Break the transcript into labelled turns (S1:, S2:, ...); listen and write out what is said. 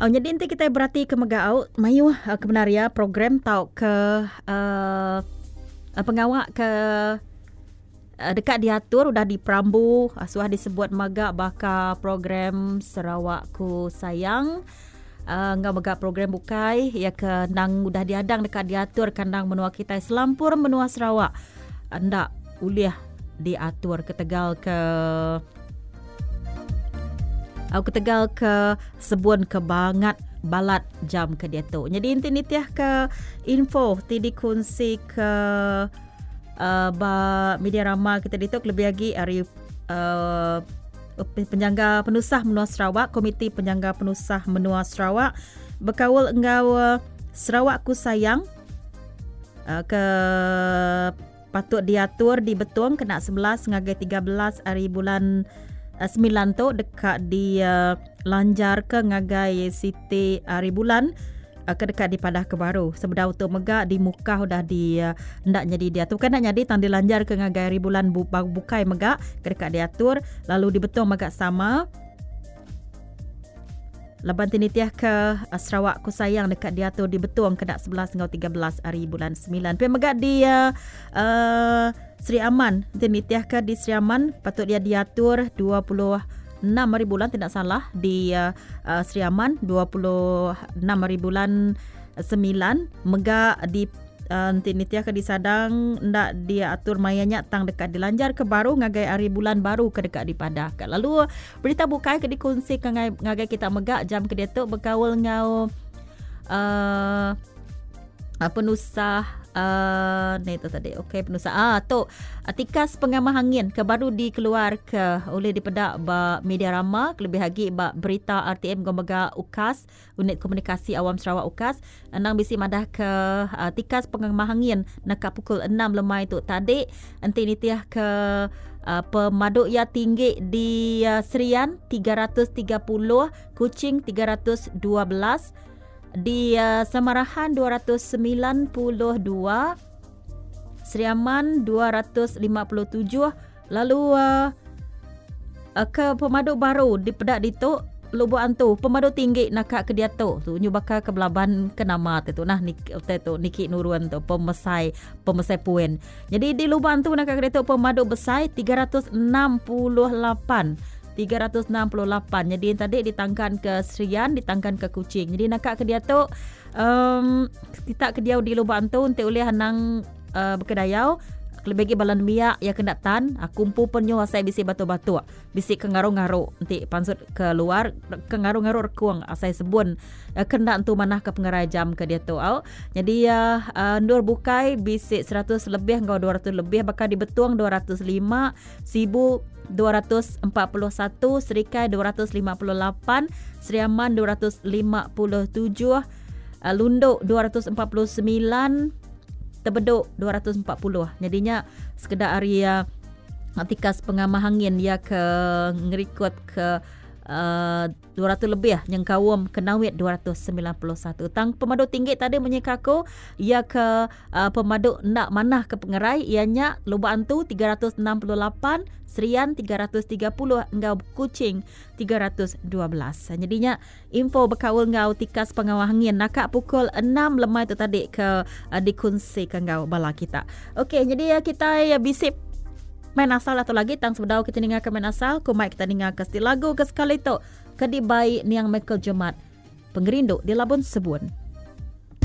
S1: Au nyadi enti kitai berati ke mega au mayuh uh, kebenar iya program tauka uh, pengawa ke uh, deka diatur udah diperambu uh, suah disebut mega baka program Sarawakku Sayang uh, enggau mega program bukai iya ke endang udah diadang deka diatur kandang menua kitai selampur menua Sarawak enda ulih diatur ketegal ke Au ketegal ke sebun ke bangat balat jam ke diatu. Jadi enti nitih ke info ti dikunsi ke uh, ba media rama kita ditu lebih agi ari uh, penyangga penusah menua Sarawak, Komiti Penyangga Penusah Menua Sarawak bekaul enggau uh, Sarawak Ku Sayang uh, ke Patut diatur di Betong kena 11 ngagai 13 ari bulan 9 tu deka dilanjarka ngagai siti ari bulan ke deka dipadahka baru. Sebedau tu mega di Mukah udah di enda nyadi diatur. Bukan enda nyadi tang dilanjarka ngagai ari bulan bukai mega ke deka diatur lalu di Betong mega sama. Laban ti nitihka Sarawak Ku Sayang deka diatur di Betong kena 11 enggau 13 ari bulan 9. Pia mega di uh, uh, Sri Aman, ti nitihka di Sri Aman patut dia diatur 26 hari bulan tidak salah di uh, uh, Sri Aman 26 hari bulan 9 mega di Enti nitihka disadang enda diatur maya nya tang deka dilanjarka baru ngagai hari bulan baru ke deka dipadahka. Lalu berita bukai ke dikunsika ngagai kita mega jam ke diatu bekaul enggau uh, penusah uh, ni tu tadi. Okey penusah ah tu tikas pengamah angin ke baru dikeluar ke oleh dipeda ba media rama kelebih agi ba berita RTM enggau mega UKAS Unit Komunikasi Awam Sarawak UKAS endang bisi madah ke uh, tikas pengemah angin naka pukul 6 lemai tu tadi enti nitih ke uh, pemadu iya tinggi di uh, Serian 330, Kuching 312, di uh, Samarahan 292, Sri Aman 257 lalu uh, uh, ke pemadu baru dipeda ditu Lubuk Antu pemadu tinggi naka ke diatu tu nyu baka ke belaban ke nama te tu nah nik te tu niki nurun tu pemesai pemesai puin. Jadi di Lubuk Antu naka ke diatu pemadu besai 368 368. Jadi tadi ditangkan ke Serian, ditangkan ke Kuching. Jadi naka ke diatu um, kita ke diau di Lubuk Antu enti ulih anang uh, bekedayau kelebih agi bala nembiak iya kena tan aku empu pen nyuh asai bisi batuk-batuk bisi ke ngaru-ngaru enti pansut ke luar ke ngaru-ngaru rekung asai sebun uh, ke enda entu manah ke pengerai jam ke diatu au nyadi uh, uh, endur bukai bisi 100 lebih enggau 200 lebih baka di Betong 205 Sibu 241 Serikai 258 Sri Aman 257 uh, Lundu 249 Tebeduk 240. Nyadi nya sekeda ari uh, tikas pengamah angin iya ke ngerikod ke uh, 200 lebih nyengkaum Kenawit 291. Tang pemadu tinggi tadi munyi ke aku iya ke uh, pemadu enda manah ke pengerai iya nya Lubok Antu 368, Serian 330 enggau Kuching 312. Nyadi nya Info bekaul enggau tikas pengawa angin naka pukul 6 lemai tu tadi ke uh, dikunsika enggau bala kita. Okey, jadi uh, kita bisi main asal atau lagi tang sebedau kita ninga ke main asal, ku mai kita ninga ke siti lagu ke sekali tu ke dibai niang Michael Jemat. Pengerindu di Labun Sebun.